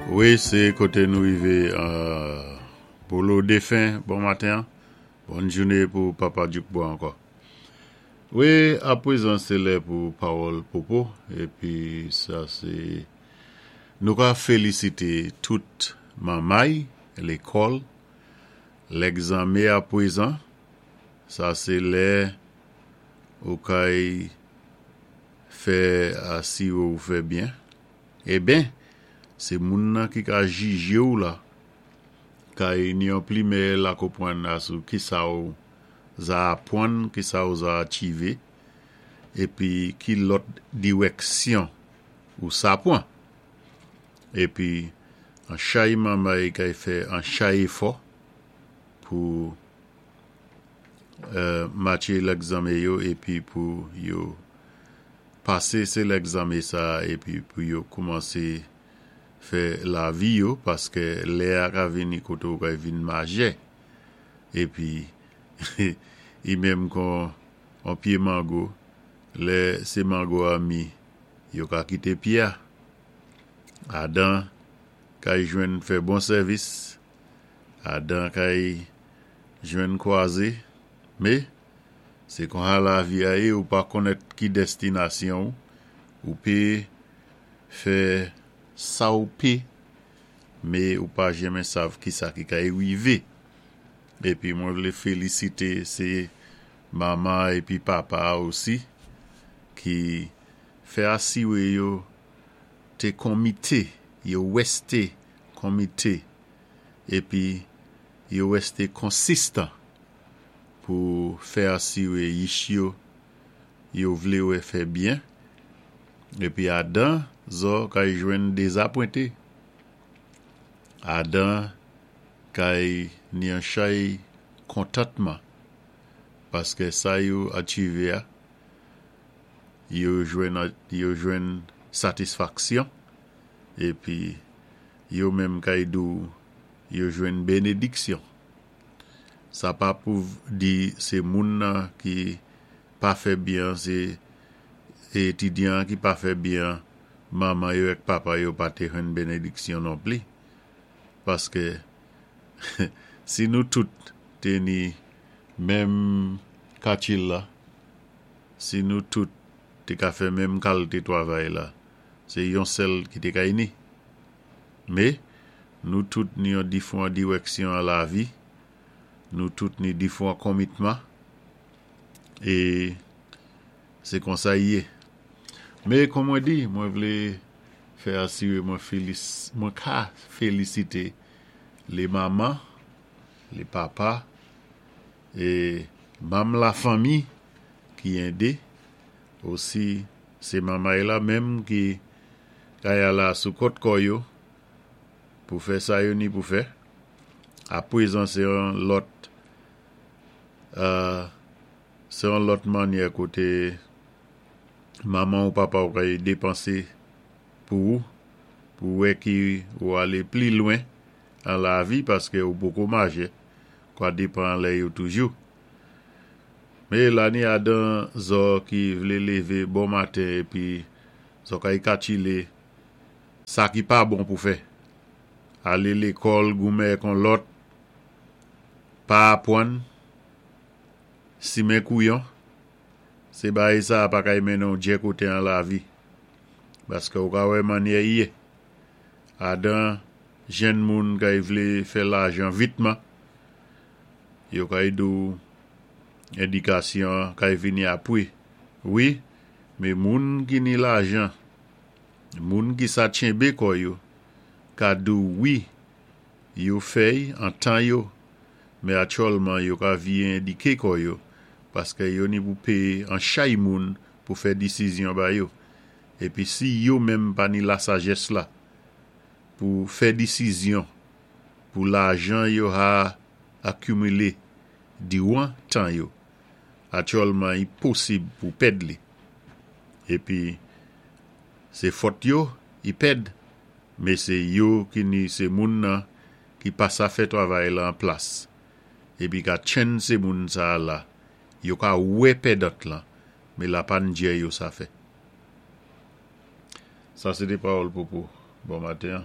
Wi se koté nou rivé Bolo defen bon maten bòn jouné pou papa Djoukbo ankò. Wi aprezan se lè pou pawòl popo épi sa se nou ka félisité tout manmay lékòl lègzanmé aprezan sa se lè ou kay fè asiré ou fè byen eben se moun nan ki ka jijé ou la kay ni yon plimè la konpwann asou kisa ou za apwann, kisa ou za achive, épi ki lòt diwèksyon ou sa pwan. Épi an chay manmay kay fè an chay éfò pou matche lègzanmé yo épi pou yo pasé sé lègzanmé sa épi pou yo koumansé fè lavi yo paskè lè a ka vini koté ou kay vin majè. Epi i menm kon on pye mango, lè se mango a mi, yo ka kite pye a. Adan kay jwenn fè bon sèvis, Adan kay jwenn kwaze, me, se konsa lavi a ye, ou pa konnèt ki dèstinasyon ou, ou pe fè sa ou pe me ou pa jenmen sav kisa ki kay rive epi mwen vle felisite se manman epi papa a osi ki fè asire yo te konmite yo weste konmite epi yo weste konsistan pou fè asire yich yo yo vle wè fè byen epi adan zò kay jwenn dezapwente. Adan kay ni an chay kontantman paskè sa yo achive a yo jwenn yo jwenn satisfaksyon epi yo menm kay di w yo jwenn benediksyon. Sa pa pou di se moun nan ki pa fè byen an se etidyan an ki pa fè byen an manman yo ak papa yo pa te jwenn benediksyon non pli paske si nou tout te ni menm katil la si nou tout te ka fè menm kalte twavay la se yon sèl ki te ka ini me nou tout ni yon difwan diwèksyon an lavi nou tout ni difwan konmitman e se konsa y ye. Me kon mwen di, mwen vle fè asire mwen felis, mwen ka felisite le manman, le papa e manm lafanmi ki ende, osi se manmay la menm ki kay ala sou kòt kò yo pou fè sa yo ni pou fè. Aprezan se yon lòt Se yon lòt mannyè kote manman ou papa ou kay depanse pou ou, pou wè ki ou ale pli lwen an lavi paske ou poko majè, kwa depan anlè yo toujou. Me la ni adan zò ki vle leve bon maten epi zò kay katchile sa ki pa bon pou fè. Ale lekòl goumen kon lòt Pa apwann simen kouyon, se bagay sa a pa kay mennen w djè kote an lavi. Paske ou ka wè mannyè ye. Adan jenn moun kay vle fè lajan vitman, yo kay di w edikasyon an kay vini apwe. Wi, me moun ki ni lajan, moun ki sa tchenbe kò yo, ka di w wi Yo fèy an tan yo, men atyòlman yo ka vye endike kò yo, paskè yo ni pou peye an chay moun pou fè disizyon ba yo. Epi si yo menm pa ni lasajès la pou fè disizyon pou lajan yo ha akimile diwan tan yo, atyòlman i posib pou pèd li. Epi se fòt yo i pèd. Me se yo ki ni se moun nan ki pa sa fè travay la an plas epi ka tchenn se moun sa a la yo ka wè pèdant lan me la pa n djè yo sa fè. Sa se te pawòl popo bon maten an.